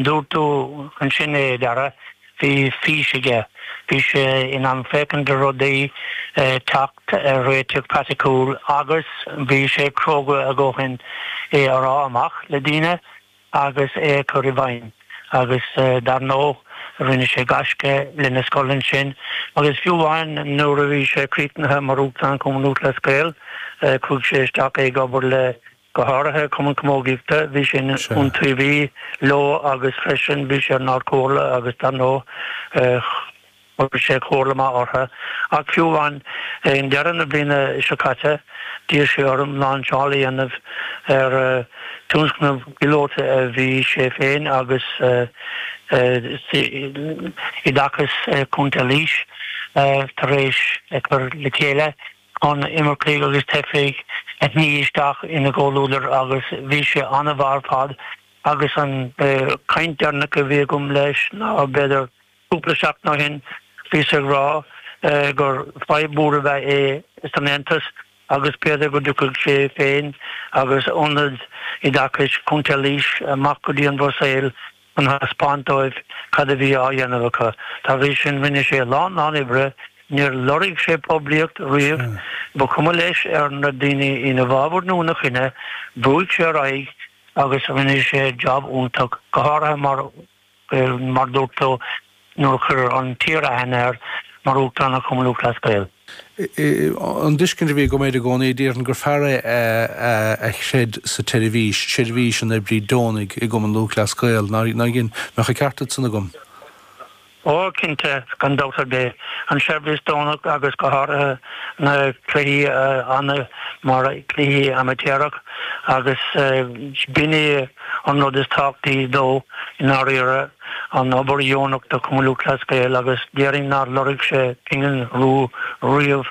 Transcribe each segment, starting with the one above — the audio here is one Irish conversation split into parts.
Dúirt tú ansin é, a Dhara, bhí fís aige. Bhí sé in ann féachaint ar rudaí, teacht ar réiteach praiticiúil agus bhí sé cróga a dhóthain é a rá amach le daoine agus é a chur i bhfeidhm. Agus dar ndóigh, rinne sé gaisce lena scoil ansin agus fiú amháin nuair a bhí sé críochnaithe mar Uachtarán Chumann Lúthchleas Gael, chuaigh sé isteach ag obair le Go háirithe Cumann Camógaíochta, bhí sé ina iontaobhaí leo agus freisin bhí sé ar an Ardchomhairle agus dar ndóigh chuir sé comhairle maith orthu. Ach fiú amháin i ndeireadh na bliana seo caite d'iarr sé orm láinseáil a dhéanamh ar tionscnamh píolóta a bhí sé féin agus Oideachas Chontae Laois tar éis a chur le chéile. chun imircigh agus teifigh a shní isteach ina gcomhluadar agus bhí sé an-mhaith ar fad agus an chaint deireanach a bhí agam leis ná b'fhéidir cúpla seachtain ó shin bhíos ag rá gur fadhb mhór ab ea é san Aontas agus b'fhéidir go dtiocfadh sé féin agus Ionad Oideachais Chontae Laois amach go dtí an Bhruiséil chun thaispeáint dóibh cad a bhí á dhéanamh acu. Dá bhrí sin, rinne sé a lán lán oibre, níor lorg sé poiblíocht riamh, ba chuma leis ar na daoine ina bhfabhar nó ina choinne, bhrúigh sé ar aghaidh agus rinne sé jab iontach, go háirithe mar, mar dúirt tú, nuair a chuir an tír aithne air mar Uachtarán ar Chumann Lúthchleas Gael. An tuiscint a bhí agam air i gcónaí, déarfainn gur fear é a chreid sa tseirbhís, seirbhís an oibrí deonaigh i gCumann Lúthchleas Gael. Nár dhein? Mbeadh an ceart ansan agam? Ó, cinnte, gan dabht ar bith. An seirbhís deonach agus go háirithe na cluichí ann mar cluichí amaitéarach agus b'in é an rud is tábhachtaí dó i ndáiríre. an obair dheonach do Chumann Lúthchleas Gael agus déarfainn nár lorg sé pingin rua riamh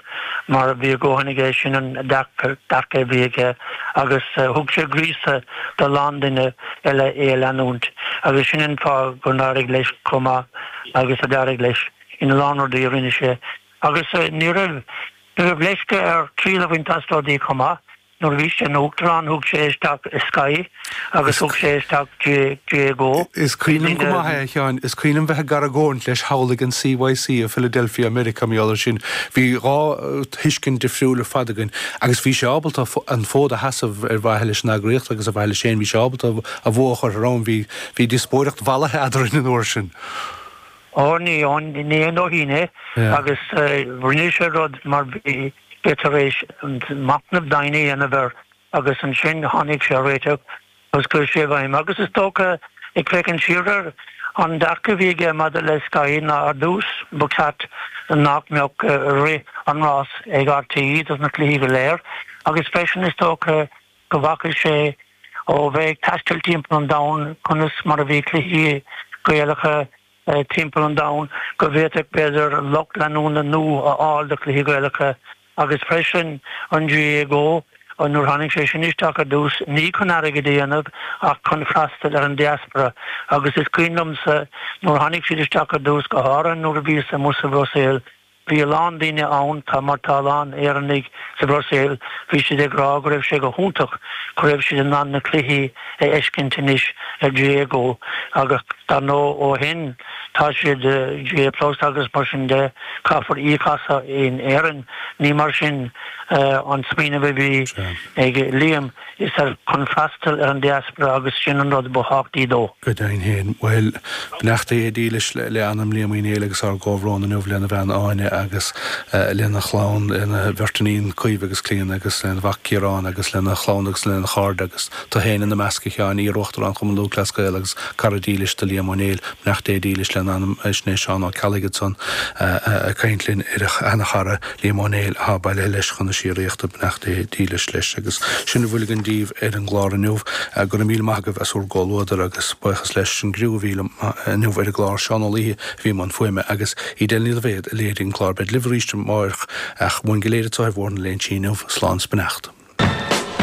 mar bhí a dhóthain aige, sin an dearcadh a bhí aige agus thug sé gríosadh do a lán duine eile é a leanúint agus sin an fáth gur d'éirigh leis chomh maith agus a d'éirigh leis ina lán rudaí a rinne sé agus ní raibh ní raibh leisce air triail a bhaint as rudaí chomh maith. Nuair a bhí sé ina Uachtarán thug sé isteach Sky agus thug sé isteach GAA Go. Is cuimhin liom go maith é, a Sheáin. Is cuimhin liom bheith ag argóint leis thall ag an CYC i Philadelphia, Meiriceá, mar gheall air sin. Bhí 2 thuiscint difriúil ar fad againn agus bhí sé ábalta an fód a sheasamh ar mhaithe leis an eagraíocht agus ar mhaithe leis féin. Bhí sé ábalta a bhua a chur thar am. Bhí bhí díospóireacht mhallaithe eadrainn an uair sin. Ó ní ní aon dóithín é agus rinne sé rud mar bhí sé tar éis machnamh domhain a dhéanamh air agus ansin tháinig sé ar réiteach agus chuir sé i bhfeidhm. Agus is dócha, ag féachaint siar air, an dearcadh a bhí aige maidir le Sky ná ar dtús ba cheart nach mbeadh rith an rás ag RTÉ dos na cluichí go léir agus freisin is dócha go bhfaca sé ó bheith ag taisteal timpeall an domhain conas mar a bhí cluichí Gaelacha timpeall an domhain, go bhféadfadh, b'fhéidir, lucht leanúna nua a fháil do chluichí Gaelacha agus freisin an GAA Go, nuair a tháinig sé sin isteach ar dtús, ní chun airgead a dhéanamh ach chun freastal ar an diaspora agus is cuimhin liomsa nuair a tháinig siad isteach ar dtús, go háirithe nuair a bhíos amuigh sa Bhruiséil, Bhí a lán daoine ann, tá mar tá a lán Éireannaigh sa Bhruiséil, bhí siad ag rá go raibh sé go hiontach go raibh siad in ann na cluichí a fheiscint anois ar GAA Go agus dar ndóigh ó shin tá siad GAA Plus agus mar sin de, caithfear íoc as in Éirinn. Ní mar sin an smaoineamh a bhí ag Liam. Is ar chun freastal ar an diaspora agus sin an rud ba thábhachtaí dó. Go deimhin féin. Bhuel, beannacht Dé dílis le anam Liam Uí Néill agus ár gcomhbhrón inniu lena bhean Áine agus lena chlann, lena bheirt iníon Caoimhe agus Clíona agus lena mhac Ciarán agus lena chlann agus lena chairde agus tú féin ina measc a Sheáin, iar-Uachtarán Chumann Lúthchleas Gael agus cara dílis do Liam Ó Néill. Beannacht Dé dílis lena anam. Sin é Seán Ó Ceallaigh ansan ag caint linn ar a sheana-chara. Liam Ó Néill atá bailithe leis chun na síoraíochta, beannacht Dé dílis leis. Agus sin a bhfuil againn daoibh ar an gclár inniu. Go raibh míle maith agaibh as bhur gcomhluadar agus buíochas leis an gcriú a bhí liom inniu ar an gclár, Seán Ó Laoithe a bhí i mbun fuaime agus Edel Ní Loibhéad a léirigh an clár. Beid libh arís amárach ach uainn go léir anseo ar Bhóthar na Léinsí inniu, slán 's beannacht.